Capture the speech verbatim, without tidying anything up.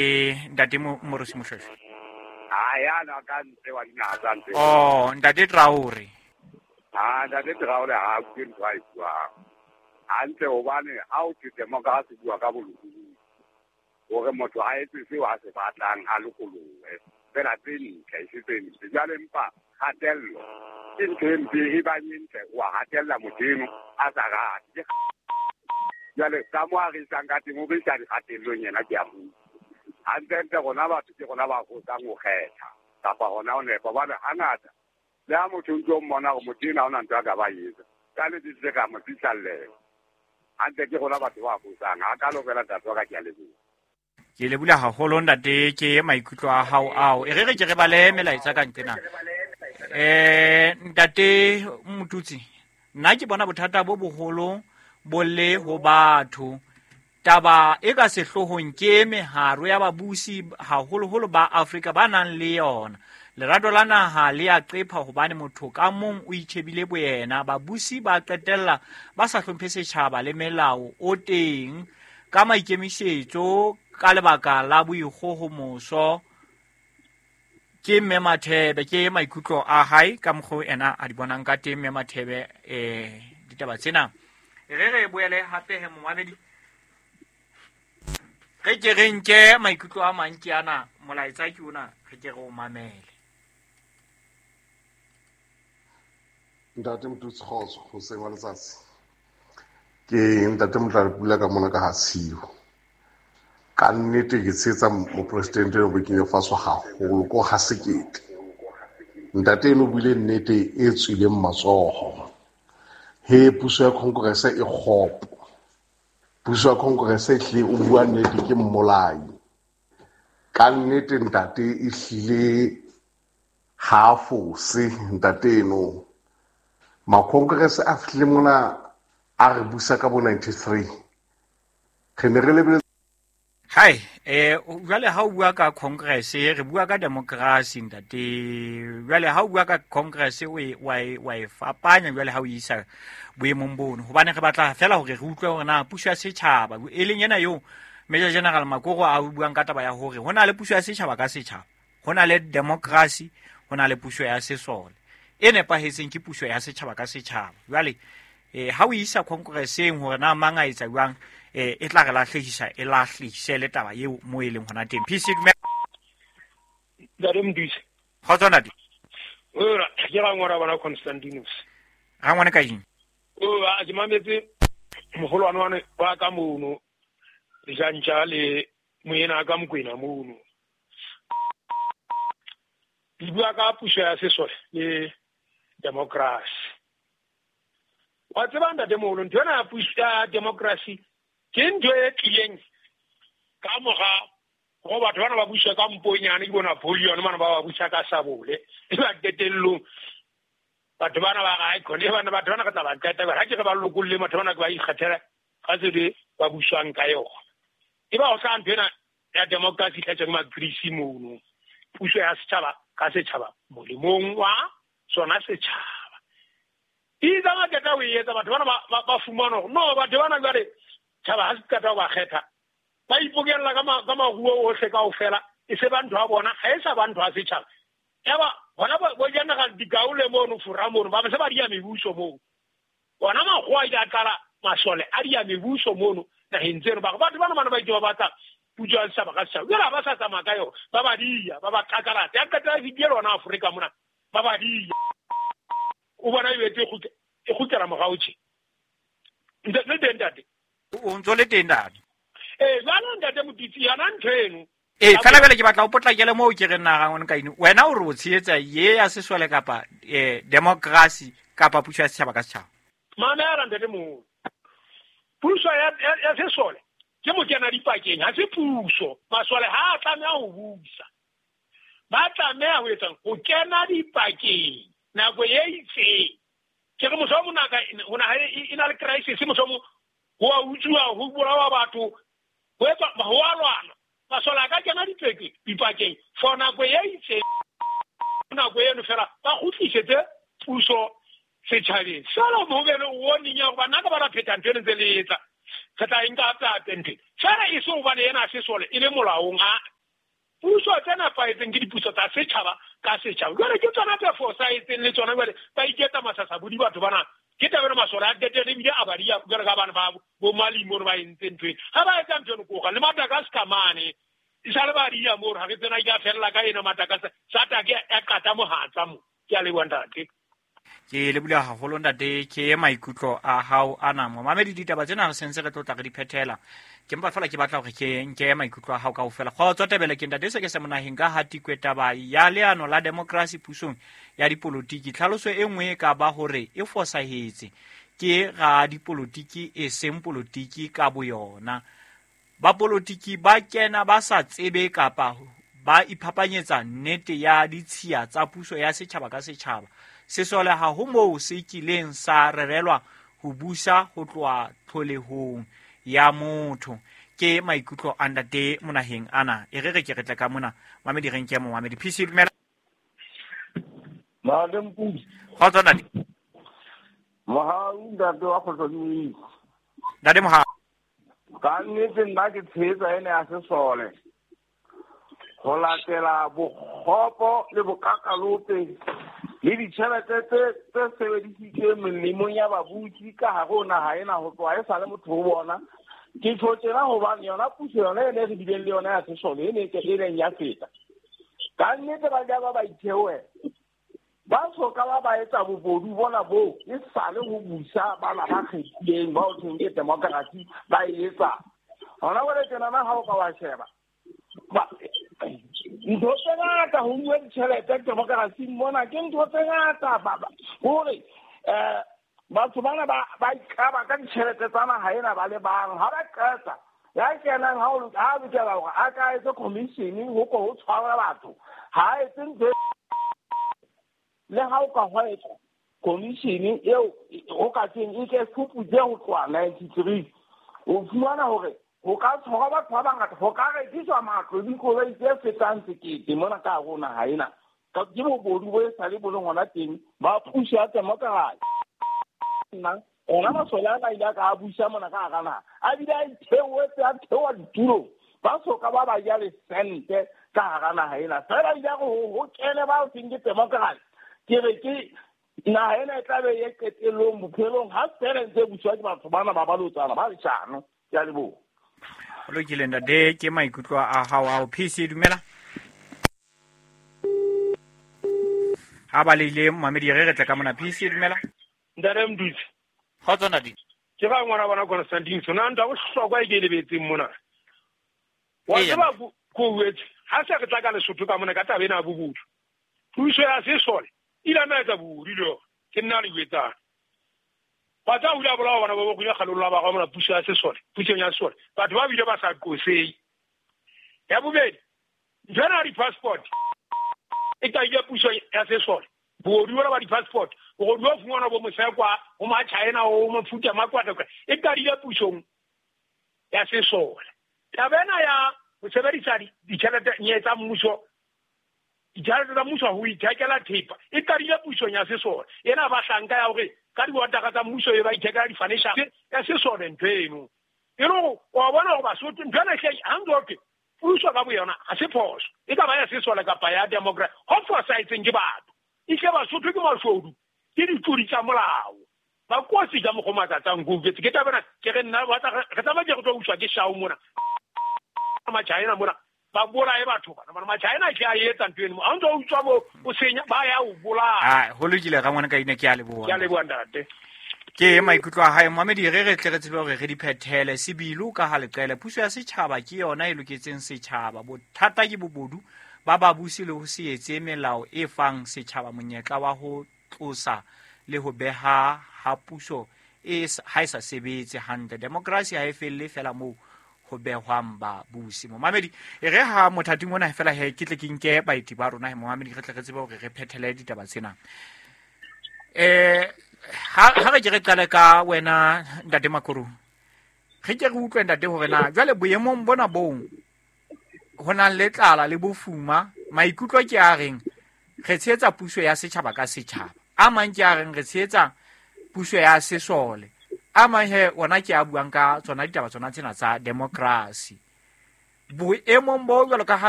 Ntate Morusi Moshweshwe. Ha ya na ka ntle wa dinaha tsa ntle. Oh, Ntate Traore. Ha Ntate Traore ha ke ntho a e buang. Hantle hobane ha o thwe democracy bua ka bolokolohi. Hore motho a etse seo a se batlang a lokolohe. Fela tse ntle, e se tse ntle. Jwale empa kgatello ke ntho e mpe e bang e ntle, wa hatella motho eno a sa rate. Jwale ka mo a re isang ka teng, o re isa dikgatellong yena ke a bua. Hantlentle rona batho ke rona ba fosang ho kgetha kapa hona ho nepa. Hobane hangata le ha motho o ntso mmona hore motho ena ha hona ntho a ka ba etsa, ka letsatsi le ka mo fihlallela. Hantle ke rona batho ba fosang. Ha kalo fela ntate wa ka, ke a leboha. Ke leboha haholo ntate, ke maikutlo a hao ao. E re re ke re bale melaetsa ka nqena. Eh ntate Motutsi, nna ke bona bothata bo boholo bo le ho batho. Taba e ka sehloohong ke meharo ya babusi haholoholo ba Afrika ba nang le yona. Lerato la naha le a qepha hobane motho ka mong o itjhebile boyena. Babusi ba qetella ba sa hlomphe setjhaba le melao o teng ka maikemisetso ka lebaka la boikgohomoso. Ke Mme Mathebe, ke maikutlo a hae ka mokgwa ena a di bonang ka teng Mme Mathebe eh ditaba tsena. Re re boele hape he momamedi. Re ke re nke maikutlo a mang ke ana, molaetsa ke ona, re ke re o mamele. Ntate Motutsi, kgotso, hoseng wa letsatsi. Ke Ntate Motlalepula ka mona ka ha Tshiu. Ka nnete ke tshehetsa mopresidente eno Burkina Faso haholo ko ha sekete. Ntate eno o buile nnete e tswileng matsoho. He puso ya Congress e kgopo. Puso ya Congress e hlile o bua nnete ke mmolai. Ka nnete ntate e hlile ha fose ntate eno. Ma Congress a fihlile mona a re busa ka bo ninety-three. Re ne re lebeletse. Hai, eh jwale ha o bua ka Congress, re bua ka democracy ntate. Jwale ha o bua ka Congress o e wa e wa e fapanya jwale ha o isa boemong bono. Hobane re batla fela hore re utlwe hore na puso ya setjhaba e leng ena eo Major General Makoro a buang ka taba ya hore ho na le puso ya setjhaba ka setjhaba, ho na le democracy, ho na le puso ya sesole. E nepahetseng ke puso ya setjhaba ka setjhaba. Jwale eh ha o isa Congresseng hore na mang a etsa jwang, eh e tla re lahlehisa, e lahlehise le taba eo mo e leng hona teng. P C Ntate Motutsi. Kgotso ntate. Ora, ke rangwana bana Constantinus. Rangwane ka eng? O a ke mametse moholwane wane wa ka mono. Dijantja le moena ka Mokwena mono. Di bua ka puso ya sesole le democracy. Wa tseba ntate moholo, ntho ena ya puso ya democracy ke ntho e tlileng ka mora go batho bana ba busa ka mponyane ke bona Napoleon bana ba ba busa ka sabole. E ba qetellong batho bana ba ga khone bana batho bana ka tla ba qeta ba ke re ba lokolle batho bana ke ba ikgethela ka tsebe ba buswang ka yona. E ba ho tla ntho ena ya democracy tletseng ma Greece mono. Puso ya setjhaba ka setjhaba molemong wa sona setjhaba. Itse ba qeta ho etsa batho bana ba ba fumana hore no batho bana jwale tjhaba ha se qeta ho ba kgetha ba ipokella ka ka maruo ohle kaofela e se ba ntho ya bona ha e sa ba ntho ya setjhaba. Eba bona bo General Dikaule mono Fora mono ba se ba dia mebuso moo. Bona makgowa a ile a qala masole a dia mebuso mono naheng tseno ba batho bana bana ba itse ba batla puso ya setjhaba ka setjhaba. Jwale ha ba sa tsamaya ka yona ba ba dia ba ba qaqalata ya qetela e fihlile hona Afrika mona ba ba dia. O bona e betse e kgutlela morao tje. Ntate le ntate. O ntso le teng ntate. Eh jwale ntate Motutsi yona ntho eno. Eh fela fela ke batla o potlakele moo ke re nna rangwane ka eng. Wena o re o tshehetsa ye ya sesole kapa eh democracy kapa puso ya setjhaba ka setjhaba. Mamela ntate moholo. Puso ya ya sesole ke mokena dipakeng ha se puso. Masole ha a tlameha ho busa. Ba tlameha ho etsa ho kena dipakeng nako e itseng. Ke re motho o monaka hona ha e na le crisis motho mo ho a utswa ho bolawa batho ho etsa ho a lwana. Masole a ka kena dipakeng dipakeng for nako e itseng. Nako eno fela ba kgutlisetse puso setjhabeng. Fela mo be le warning ya hore bana ka ba la pheta ntho eno ntse le etsa. Re tla e nka hape hape ntho. Fela e se hobane ena sesole e le molaong a puso tse nepahetseng ke dipuso tsa setjhaba ka setjhaba. Jwale ke tsona tse fosahetseng le tsona jwale ba iketsa masasabodi batho bana. Ke taba ena masole a qetelle ebile a ba dia jwale ka bana ba bo Malimo ba entse ntho ena. Ha ba etsa ntho eno koga le Madagascar mane. E sale ba dia moo ha re tsena e ka fella ka ena Madagascar. Satake ya qata mohatsa mo. Ke a leboha ntate. Ke lebohile haholo ntate, ke maikutlo a hao ana. Momamedi, ditaba tsena re sentse re tlotla re di phethela. Ke mpa fela ke batla hore ke nke maikutlo a hao kaofela. Kgotso Tebele, ke ntate se ke se monaheng ka hatikwe taba ya leano la demokrasi pusong ya dipolotiki. Tlhaloso e nngwe e ka ba hore e fosahetse ke ra dipolotiki e seng polotiki ka boyona. Ba polotiki ba kena ba sa tsebe kapa ba iphapanyetsa nnete ya ditshiya tsa puso ya setjhaba ka setjhaba. Sesole ha ho moo se kileng sa rerelwa ho busa ho tloha tlholehong ya motho. Ke maikutlo a ntate monaheng ana. E re re ke re tle ka mona. Mamedi re nke mo mamedi. P C dumela. Madam Pusi. Kgotso ntate. Mohau ntate wa kgotso di. Ntate Mohau. Ka nnete nna ke tshehetsa ena ya sesole. Ho latela bokgopo le bokakalope le ditjhelete tse tse sebedisitsweng melemong ya babusi ka hare ho naha ena ho tloha e sale motho ho bona. Ke tjho tjena hobane yona puso yona e ne re bileng le yona ya sesole e ne e leng ya feta. Ka nnete ba ja ba ba itheohela. Ba soka ba ba etsa bobodu bona boo e sale ho busa bana ba kgethileng ba ho thweng ke democracy ba e etsa. Hona jwale tjenana ha o ka wa sheba ntho tse ngata ho nkuwe ditjhelete demokrasing mona ke ntho tse ngata baba. Hore eh batho bana ba ba ikaba ka ditjhelete tsa naha ena ba le bang ha ba qeta ya kenang ha o ha lokela hore a ka etse commission ho ko ho tshwara batho ha etse ntho le ha o ka hwa commission eo ho ka teng e ke fuputse ho tloha ninety-three o fumana hore ho ka tshwara batho ba bangata ho ka rekiswa matlo le dikoloi tse fetang sekete mona ka hare ho naha ena. Ke bobodu bo e sale bo leng hona teng ba puso ya democracy. Nna ona masole ana ile a ka a busa mona ka hara naha a bile a itheoetse a theoha ditulong ba soka ba ba ja le sente ka hara naha ena. Fela ile a re ho kene ba ho thweng ke democracy. Ke re ke naha ena e tla be e qetellong bophelong ha fela ntse e buswa ke batho bana ba balotsana ba leshano. Ke a leboha. Ho lokile ntate, ke maikutlo a hao ao. P C dumela. Ha ba leile mamedi re re tle ka mona. P C dumela. Ntate Mdutsi. Kgotso ntate. Ke ba ngwana bona Constantine sona ntwa bohlokwa e ke lebetseng mona. Wa tseba ko wetse ha se re tla ka Lesotho ka mona ka taba ena bobodu. Puso ya sesole ile na etsa bobodu le yona. Ke nna le wetsang. Ba tla hula bolao bana ba bo kunya kgalolo ba ga mona puso ya sesole, puso ya sesole. Batho ba bile ba sa qosei. Ya bobedi, ntho di passport. E ka ile puso ya sesole. Bobodu bona ba di passport, bobodu ba fumana bo mosekwa, ho ma China ho mafuta makwata kwa. E ka ile pusong ya sesole. Taba ena ya ho sebedisa ditjhelete nye tsa mmuso ditjhelete tsa mmuso ho ithekela thepa e qadile pusong ya sesole. Ena ba hlanka ya hore ka diotaka tsa mmuso e ba ithekela di-furniture ya sesole ntho eno. E le hore wa bona hore Basotho ntho ena hle ha ntse ho puso ka boyona ha se phoso. E ka ba ya sesole kapa ya democracy. Ho fosahetseng ke batho. E hle Basotho ke mashodu, ke ditlodi tsa molao. Ba kotsi ka mokgwa matsatsang ko utlwetse. Ke taba ena ke re nna re tsamaya ke re tlo uswa ke shao mona. Machina mona ba bolaye batho bana bana Machina ke a etsa ntho eno ha ntse o utswa bo o senya ba ya o bolaya. Ah ho lokile ga ngwana ka ine ke a leboha. Ke a leboha ntate. Ke maikutlo a hae mamedi re re tle re tsebe hore re di phethele sebilo ka ha leqele. Puso ya setjhaba ke yona e loketseng setjhaba. Bothata ke bobodu ba babusi le ho se etse melao e fang setjhaba monyetla wa ho tlosa le ho beha ha puso e ha e sa sebetse hantle. Demokrasi ha e felle fela moo ho behwang babusi. Momamedi e re ha mothating ona fela he ke tle ke nke baeti ba rona he momamedi re tle re tsebe hore re phethele ditaba tsena. Eh ha ha re ke re qale ka wena ntate Makuru. Re ke re utlwe ntate hore na jwale boemong bona bong ho nang le tlala le bofuma maikutlo ke a reng re tshehetsa puso ya setjhaba ka setjhaba. A mang ke a reng re tshehetsa puso ya sesole. A mang he ona ke a buang ka tsona ditaba tsona tsena tsa democracy. Boemong bo jwalo ka ha